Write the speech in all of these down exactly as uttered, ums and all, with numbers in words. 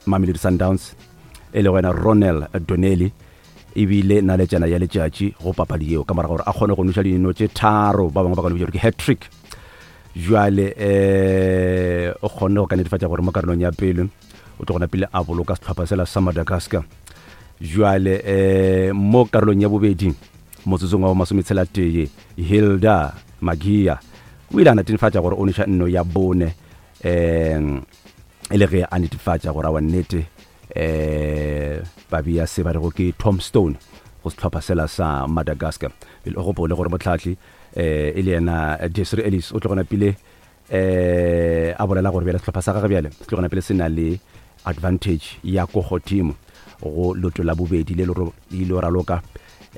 Mamelodi Sundowns e le wena Ronel Donnelly ebile naletšana ya letšatši go papadi yeo ka morago gore a kgone go noša dino tše tharo, ba bangwe ba ka no bitša gore ke hat-trick. Jwale um o kgonne go ka netefatša gore mo karolong ya pele o tlo gona pele a boloka sehlopha sela sa Madagascar. Jwale um mo karolong ya bobedi motsotsong wa masometshela tee, Hilda Magia o ile a netefatša gore o noša nno ya bone, um e le ge a netefatša gore awa nnete um ba bea se ba rego ke tombstone go sehlopha sela sa Madagascar. Pele o gopole gore motlhahli um e le yena Desiree Ellis o tlo gona pele um a bolela gore bjale sehlopha sa gagwe bjale se tlo gona pele se na le advantage ya ko godimo go leoto la bobedi le le ile raloka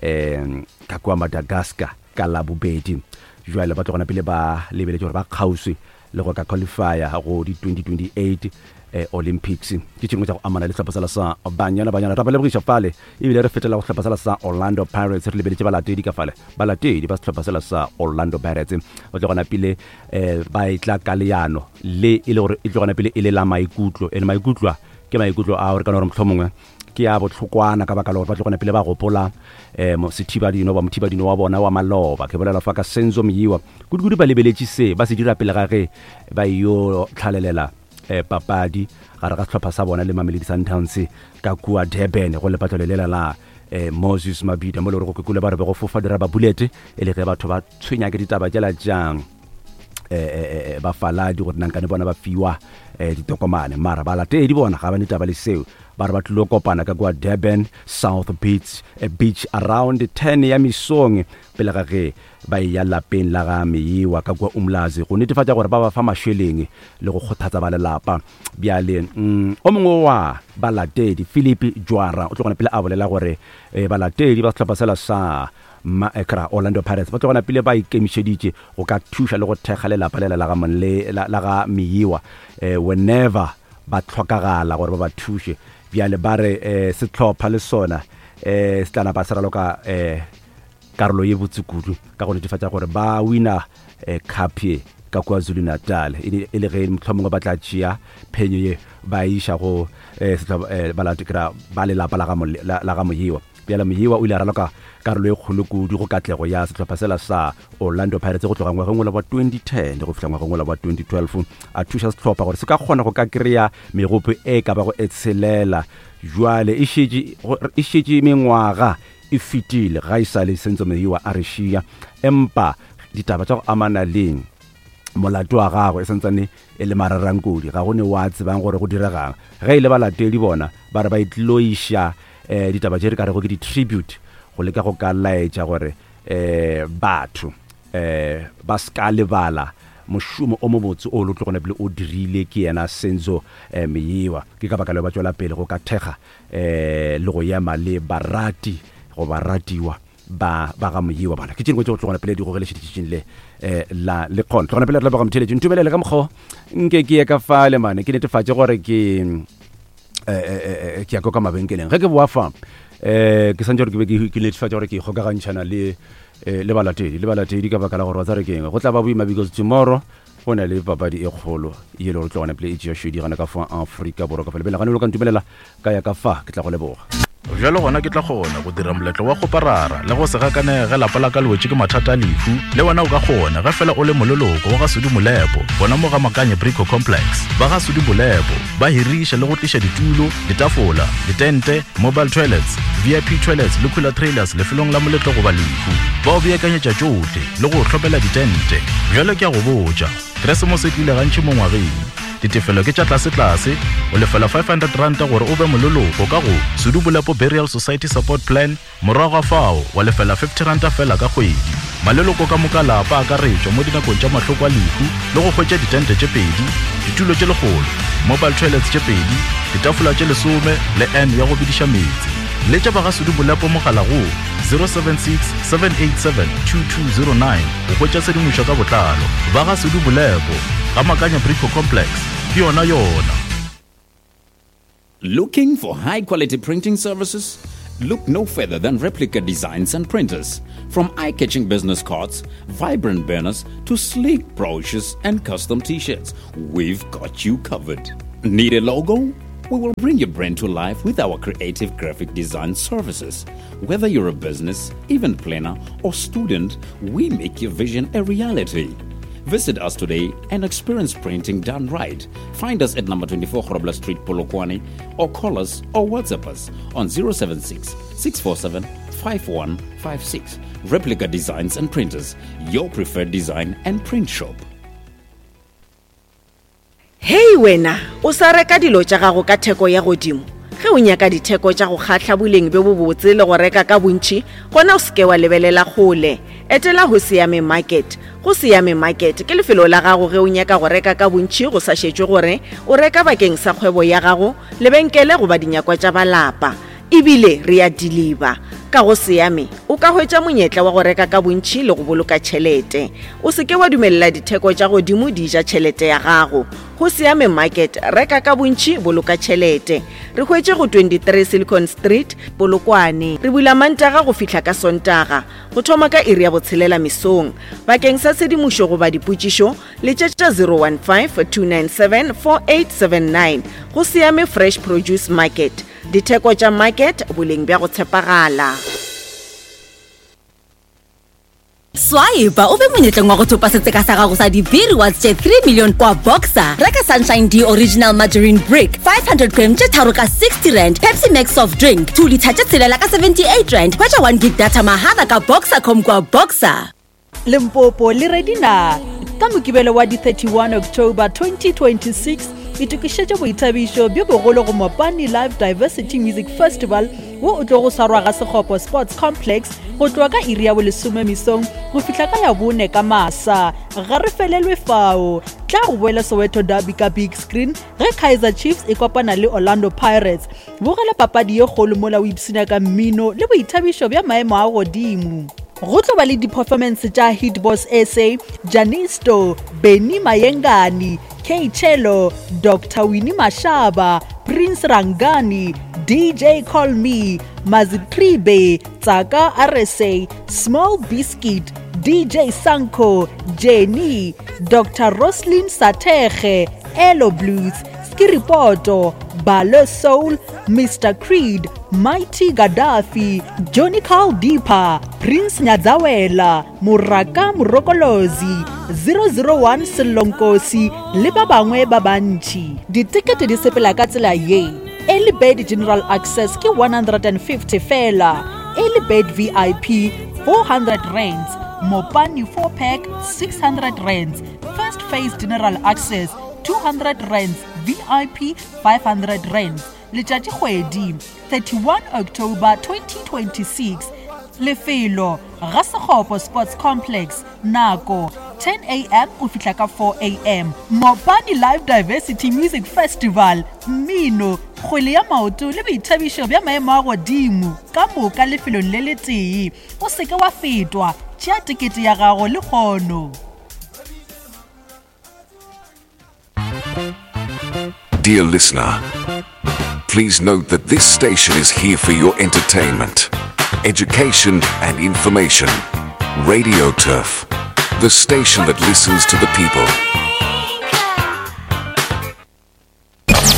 um ka kua Madagascar ka la bobedi. Jwale ba tlo gona pele ba lebeletše gore ba kgauswi le go ka qualifya go di twenty twenty-eight eh, Olympics. Ke tše dingwe tša go amana le sehlopha sela sa Banyana Banyana. Ra ba lebogiša fale, ebile re fetela go sehlopha sela sa Orlando Pirates. Re lebeletše balatedi ka fale, balatedi ba sehlopha sela sa Orlando Pirates ba tlo gona pele eh, ba etla ka leano le e le gore e tlo gona pele e le la maikutlo, ene maikutlo a ke maikutlo a gore kana gore mohlomongwe ke a bohlokwana ka baka la gore ba tlo gona pele ba gopola um sethibadino ba mothibadino wa bona wa maloba. Ke bolela fa ka Senzo Meyiwa, kudu-kudu ba lebeletše se ba se dira pele ga ge ba yo tlhalelela eh, papadi gare ga sehlopha sa bona le Mamelodi Sundowns ka kua Durban go lepatlelo lela la eh, Moses Mabhida, mo le gore go kekule ba re be go fofa diraba bullet e le ge batho ba tshwenya ke ditaba tšela tšang eh, eh, bafaladi gore nankane bona ba fiwa eh, ditokomane, mara balatedi bona ga ba ne taba le seo. Ba re ba tlilo kopana ka kua Durban South Beach, eh, Beach around ten ya mesong pele ga ge ba eya lapeng la ga Meyiwa ka kua Umlazi go netefatša gore ba ba fa mašeleng le go kgothatsa ba lelapa. Bjale mm, o mongwe wa balatedi Philip Jwara o tlo gona pele a bolela gore eh, balatedi ba sehlopha sela sa ma kra Orlando Pirates ba tlo gona pele ba ikemišeditše go ka thuša le go thekga lelapa lela la ga Monle la, la ga Meyiwa eh, whenever ba tlhokagala gore ba ba thuše. Bjale ba re eh, sehlopha le sona eh, se tla napa se raloka eh, karolo ye botse kudu ka go netefatša gore ba wina eh, cup ye ka kua Zulu Natal, e le ge mohlomongwe ba tla tšea phenyo ye ba iša go eh, eh, ba lelapa la ga Moyiwa. Bjale Moyiwa o ile a raloka karolo e kgolo kudu go katlego ya sehlopha sela sa Orlando Pirates go tloga ngwageng ola wa twenty ten go fihla ngwageng ola wa twenty twelve, a thuša sehlopha gore se ka kgona go ka kry-a megopo e ka bago e tshelela. Jwale e šetše mengwaga e fetile ga e sa le Senzo Meyiwa a re šia, empa ditaba tša go amana le molato wa gagwe e santsane e le mararankodi, ga go ne wa tsebang gore go diregang. Ge e le balatedi bona ba re ba itlilo iša eh, ditaba tše re ka rego ke di-tribute go leka go ka laetša gore eh, batho eh, ba ska lebala mošomo o mobotse o lo tlo gona pele o dirile ke yena Senzo eh, Meyiwa. Ke ka baka leo ba tšwela pele go ka thekga eh, le go ema le barati go baratiwa ba ba ga Moyiwa bana. Ke tše dingwe tše go tlogona pele di gogele šetšitšing le eh, la le kgona tlogona pele re leboga motheletši ntumelele ka mokgwa nke ke ye ka fale mane ke netefatše gore ke eh, ke ya ka mabenkeleng. Ge ke boa fa eh ke santse gore ke be ke netefatša gore ke ikgokagantšhana le le balatedi le balatedi ka baka la gore wa tsare keng go tla ba boima because tomorrow go na le papadi e kgolo ye le gore tlogona pele e tšea šedi gana ka fa Afrika Borwa ka fa lebele gane lo ka ntumelela ka ya ka fa ke tla go leboga. Bjalo gona ke tla kgona go dira moletlo wa go parara le go se gakanege ge lapa la ka le wetše ke mathata a lehu. Le wena o ka kgona ge fela o le moleloko wa ga Sudi Molepo gona mo ga Makanye Brico Complex. Ba ga Sudi Molepo ba hiriša le go tliša ditulo, ditafola, ditente, mobile toilets, V I P toilets le cooler trailers lefelong la moletlo goba lehu. Ba o beakanyetša tšohle le go hlopela ditente. Bjalo ke a go botša, Keresemose e tlile gantši mo ngwageng. Ditefelo ke tša tlase-tlase, o lefela five hundred ranta gore o be moleloko ka go Sudu Bolepo Burial Society Support Plan, morago ga fao wa lefela fifty ranta fela ka kgwedi. Maleloko ka moka lapa a akaretšwa mo dinakong tša mahloko a lehu le go hwetša ditente tše pedi, ditulo tše lekgolo, mobile toilets tše pedi, ditafola tše lesome le N ya go bidiša meetse. Letša ba ga Sudu Bolepo mogala go zero seven six seven eight seven two two zero nine go hwetša tshedimošo ka botlalo. Ba ga Sudu Bolepo ga Makanya Brico Complex ke yona yona. Looking for high quality printing services? Look no further than Replica Designs and Printers. From eye-catching business cards, vibrant banners, to sleek brochures and custom t-shirts, we've got you covered. Need a logo? We will bring your brand to life with our creative graphic design services. Whether you're a business, event planner, or student, we make your vision a reality. Visit us today and experience printing done right. Find us at number twenty-four Grobler Street, Polokwane, or call us or WhatsApp us on zero seven six, six four seven, five one five six. Replica Designs and Printers, your preferred design and print shop. Hei wena, o sa reka dilo tša gago ka theko ya godimo. Ge o nyaka ditheko tša go kgahla boleng bjo bobotse le go reka ka bontši, gona o seke wa lebelela kgole. Etela go Siame Market. Go Siame Market ke lefelo la gago ge o nyaka go reka ka bontši go sa šetšwe gore o reka bakeng sa kgwebo ya gago, lebenkele goba dinyakwa tša balapa. Ebile re a deliver. Ka go Siame o ka hwetša monyetla wa go reka ka bontši le go boloka tšhelete. O seke wa dumelela ditheko tša godimo di ja tšhelete ya gago. Go Siame Market, reka ka bontši, boloka tšhelete. Re hwetše go twenty-three Silicon Street, Polokwane. Re bula Mantaga go fihla ka Sontaga, go thoma ka iri ya botshelela mesong. Bakeng sa tshedimošo goba dipotšišo, letšetša zero one five, two nine seven, four eight seven nine. Go Siame Fresh Produce Market. Ditheko tša market, boleng bja go tshepagala. Swipe o be monyetleng wa go thopa setseka sa gago sa di-V rewards tše three million kwa Boxer. Reka Sunshine D Original Margarine Brick five hundred gram tše tharo ka sixty rand, Pepsi Max soft drink two litre tše tshelela ka seventy-eight rand. Hwetša one gig data mahala ka Boxercom kwa Boxer. Limpopo le ready na? Ka Mokibelo wa di thirty-one October twenty twenty-six, itokišetše boithabišo bjo bogolo go Mopani Live Diversity Music Festival wo o tlo go swarwa ga Sekgopo Sports Complex go tloga ka iri ya bolesome mesong go fihla ka ya bone ka masa. Ga re felelwe fao, tla go boela Soweto Derby ka big screen ge Kaizer Chiefs e kopana le Orlando Pirates. Bogela papadi ye kgolo mola o ipshina ka mmino le boithabišo bja maemo a godimo. Go tlo ba le di-performance tša Hit Boss S A, Janisto, Benny Mayengani, K Chelo, Doctor Winnie Mashaba, Prince Rangani, D J Call Me, Mazitribe, Tsaka R S A, Small Biscuit, D J Sanko, Jenny, Doctor Roslyn Satege, Elo Blues, Skiripoto, Balo Soul, Mister Creed, Mighty Gaddafi, Johnny Carl Deeper, Prince Nyadzawela, Muraka Murokolozi, zero zero one Selonkosi le ba bangwe ba bantši. Ditikete di sepela ka tsela ye. Early Bird General Access ke one hundred and fifty fela, Early Bird V I P four hundred rands, Mopani four pack six hundred rands, First Phase General Access two hundred rands, V I P five hundred rands. Letšatši kgwedi thirty-one October twenty twenty-six. Lefelo ga Sekgopo Sports Complex, nako ten A M go fihla ka four A M. Mopani Live Diversity Music Festival, mmino, kgwele ya maoto le boithabišo bja maemo a godimo ka moka lefelong le letee. O seke wa fetwa, tšea tekete ya gago le kgono. Dear listener, please note that this station is here for your entertainment, education and information. Radio Turf, the station that listens to the people.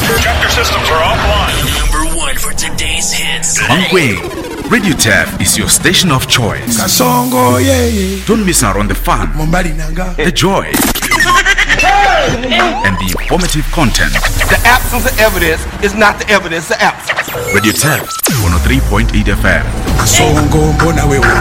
Projector systems are offline. Number one for today's hits. Mankweng, Radio Turf is your station of choice. Kasongo, yeah, yeah. Don't miss out on the fun, the joy, and the informative content. The absence of evidence is not the evidence of absence. Radio Turf, one oh three point eight F M. Kasongo, mbona wewe.